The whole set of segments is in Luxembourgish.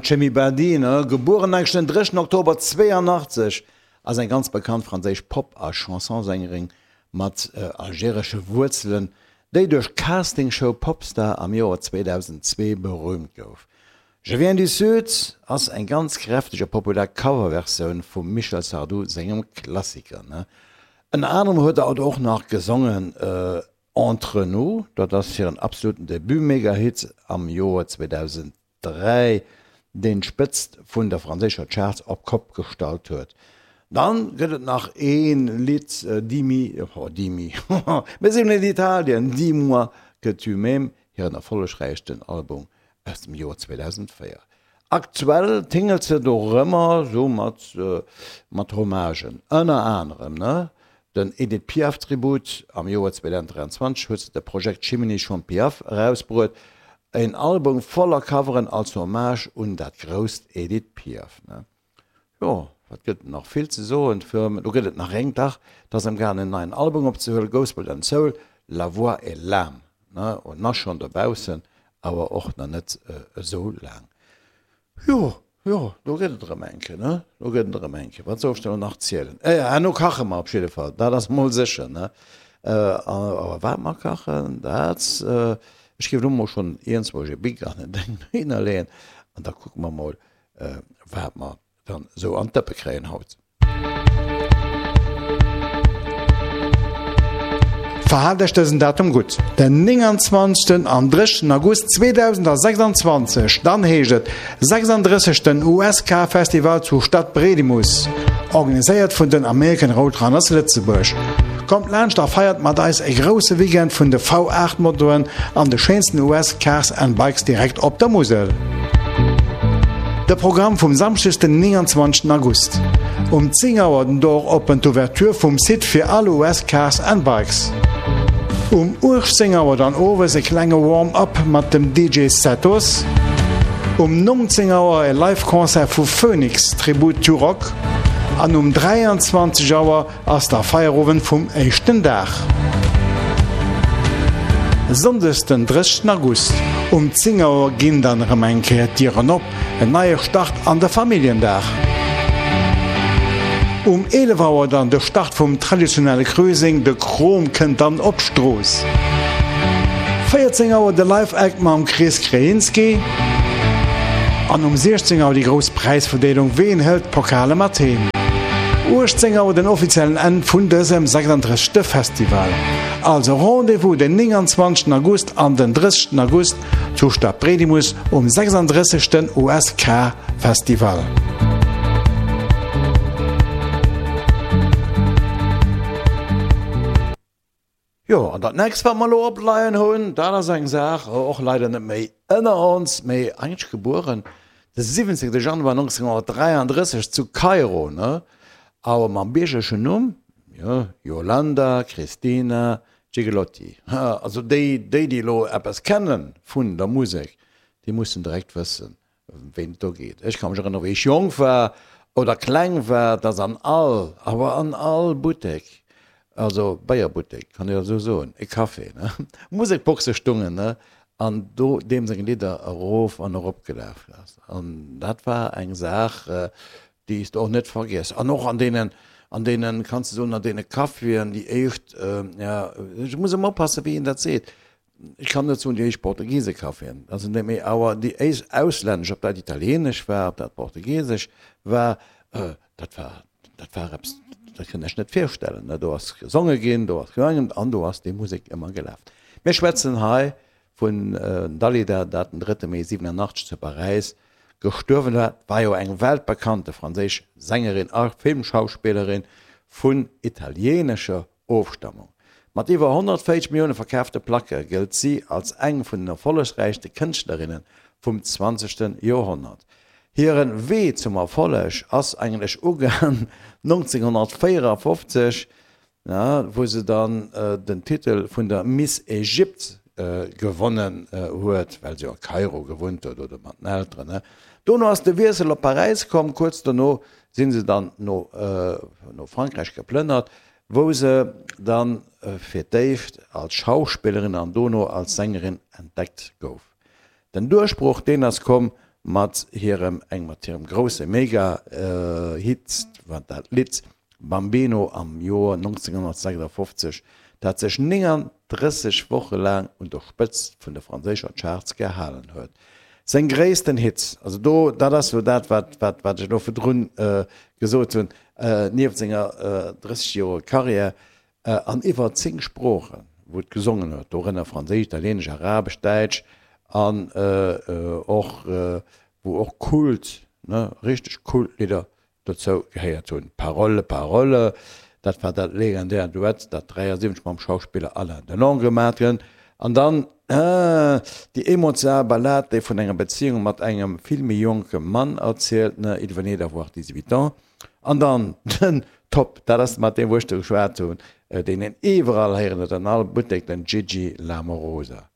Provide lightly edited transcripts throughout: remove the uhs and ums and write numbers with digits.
D'Chemi Badi, gebueren eigentlech den 3 Oktober 82, ass eng ganz bekannt franséisch Pop a Chansonsängerin mat algeresche Wuerzelen, déi duerch d'Castingshow Popstar am Joer 2002 berüümt gouf. Je viens du Sud ass eng ganz kräfteg a populär Coverversioun vum Michel Sardou sengem Klassiker. Ënner anerem huet hatt och nach gesongen Entre nous, dat ass hiren absoluten Debut-Megahit am Joer 2003, deen d'Spëtzt vun der franséischer Charts op d'Kopp gestallt huet. Dann gëtt et nach ee Lidd, Dimmi, oh Dimmi, mir sinn an Italien, Dis-moi que tu m'aimes, hiren erfollegräichsten Album aus dem Joer 2004. Aktuell tingelt se dorëmmer sou mat mat Hommagen, ënner anerem ne den Edith Piaf Tribut. Am Joer 2023 huet se de Projekt Chimini Chante Piaf erausbruet, en Album voller Coveren als Hommage un dat grousst Edith Piaf ne. Jo, wat gëtt et nach vill ze soen, do gëtt et nach eng, dach, et ass amgaangen en neien Album opzehuelen, Gospel and Soul, La voix et l'âme, ne, en ass schonn dobaussen, awer och nach net esou laang. Jo, jo, do gëtt et erëm eng Kéier, ne, do gëtt et erëm eng Kéier. Wat soll ech der elo nach zielen? Herno kache mer op jidde Fall, dat ass mol sécher, ne. Awer wat mer kachen, dat, ech géif elo mol schonn iergendzwousch e Bic an en Deng dohinner leeën an da kucke mer mol, wat mer dann esou an d'Dëppe kréien haut. Verhaalt Iech dësen Datum gutt, den 29. an 30. August 2026, dann heescht et 36. USK Festival zu Stadbredimus, organiséiert vun den American Roadrunners Lëtzebuerg. Kommt laanscht a feiert mat eis e grousse Weekend vun de V8 Motoen an de schéinsten US Cars and Bikes direkt op der Musel. De Programm vum Samschdeg den 29 August. Um 10 Auer den Door open, d'Ouverture vum Site fir all US Cars and Bikes. Um 18 Auer dann owes e klenge Warm-up mat dem DJ Setos. Um 19 Auer e Live Concert vu Phoenix, Tribute to Rock. An um 23 Auer ass da Feierowend vum éischten Dag. Sonndes den 30 August um 10 Auer ginn dann erëm eng Kéier d'Dieren op, en neie Start an de Familljendag. Um 11 Auer dann de Start vum traditionelle Cruising, de Krom kënnt dann op d'Strooss. 14 Auer de Live Act mam Chris Krejinski an um 16 Auer déi grouss Präisverdeelung, ween hëlt d'Pokale mat heem? 18 Auer den offiziellen Enn vun dësem 36. Festival. Also Rendez-vous den 29 August an den 30 August zu Stadbredimus um 36. USK Festival. Jo, an dat nächst wat mer elo opleien hunn, dat ass eng Saach, och leider net méi ënner ons, mee eigentlech gebueren de 17. Januar 1933 zu Kairo, ne, awer mam biergerlechen Numm, jo, Yolanda Cristina Gigliotti. Also déi, déi elo eppes kenne vun der Musek, déi mussen direkt wëssen, Ëm ween et do geet. Ech ka mech erënneren, wéi ech jonk war oder kleng war, dass an all, awer an all Buttek, also Béierbuttek, kann ech esou soen, e Café, ne, Musekboxe stungen, ne, an do deem seng Lidder erof an erop gelaf ass. An dat war eng Saach, déi s de och net vergiess. An och an deenen, an deenen, kanns de soen, an deene Caféen, déi éischt, ja, ech muss ëmmer oppassen, wéi een dat seet, Ech kann net soen déi éischt Portugiese-Caféen, dat sinn déi, mee awer déi éischt auslännesch, ob dat italienesch war, ob dat portugiesesch war, dat war, dat war eppes, dat kënnt Iech net virstellen, ne. Do ass gesonge ginn, do ass gesangen an do ass déi Musek ëmmer gelaf. Mir schwätzen hei vun Dalida, dat den drëtte Mee 87 zu Paräis gestuerwen war. War jo eng weltbekannte franséisch Sängerin a Filmschauspillerin vun italienescher Ofstammung. Mat iwwer 140 Millioune verkaafte Placke gëllt si als eng vun den erfollegräichste Kënschtlerinne vum zwanzegste Joerhonnert. Hire Wee zum Erfolleg ass eigentlech ugaang 1954, wou se dann den Titel vun der Miss Egypt gewonnen huet, well se jo a Kairo gewunnt huet oder mat den Elteren. Dono ass de Wiessel op Paräis komm. Kuerz dono si se dann no Frankräich geplënnert, wou se dann fir d'éischt als Schauspillerin an dono als Sängerin entdeckt gouf. Den Duerchbroch, deen ass komm. mat hirem eng mat hirem grousse Mega Hit, wat dat Lidd Bambino am Joer 1956, dat sech 39 Woche laang un der Spëtzt vun de franséischer Charts gehalen huet. Seng gréissten Hits, also do, dat ass elo dat, wat, wat, wat ech elo virdrun gesot hunn, nieft senger 30 Joer Karriär an iwwer 10 Sproochen, wou et gesongen huet, dorënner Franséisch, Italieenesch, Arabesch, Däitsch an och, wou och Kult, ne, richteg Kultlidder Dozou gehéiert hunn Paroles, Paroles, dat war dat legendäert Duett, dat 73 mam Schauspiller Alain Delon gemat gëtt, an dann déi emotional Ballad, déi vun enger Bezéiung mat engem vill méi jonke Mann erzielt, ne, Il venait d'avoir 18 ans. An dann den Top, dat ass mat deem, wou ech do geschwat hunn, deen een iwwerall héieren huet, an all Buttek, den Gigi L'Amorosa.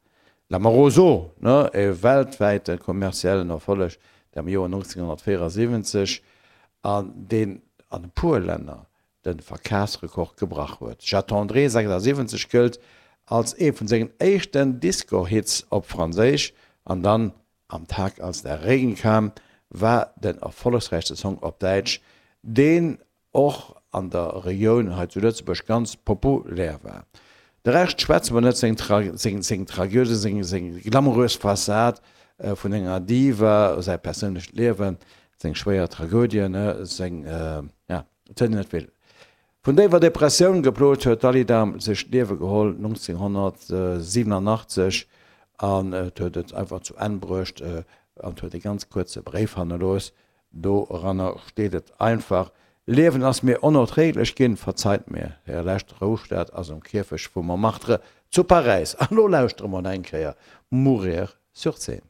L'Amoroso, ne, e weltwäite kommerziellen Erfolleg, dee am Joer 1974 an deen an e puer Länner de Verkafsrekord gebrach huet. J'attendrai 76 gëllt als ee vun sengen éischten Disco-Hits op Franséisch an dann Am Tag als der Regen kam war den erfollegsräichste Song op Däitsch, deen och an der Regioun hei zu Lëtzebuerg ganz populär war. De Rescht schwätze mer net, seng seng Tragödie, seng seng glamourös Fassad vun enger Diva, säi perséinlecht Liewen, seng schwéier Tragödien, seng, ja, et huet een net vill. Vun déiwer Depressioun geplot huet d'Dalida sech d'Liewe geholl 1987 an et huet et einfach zu Enn bruecht an huet e ganz kuerze Bréif hannerlooss, Doranner steet et einfach, Liewen ass mir onerträglech ginn, verzeit mir. Hire lescht Roustat ass um Kierfecht vu Montmartre zu Paräis. An elo lauschtere mer nach eng Kéier Mourir sur scène.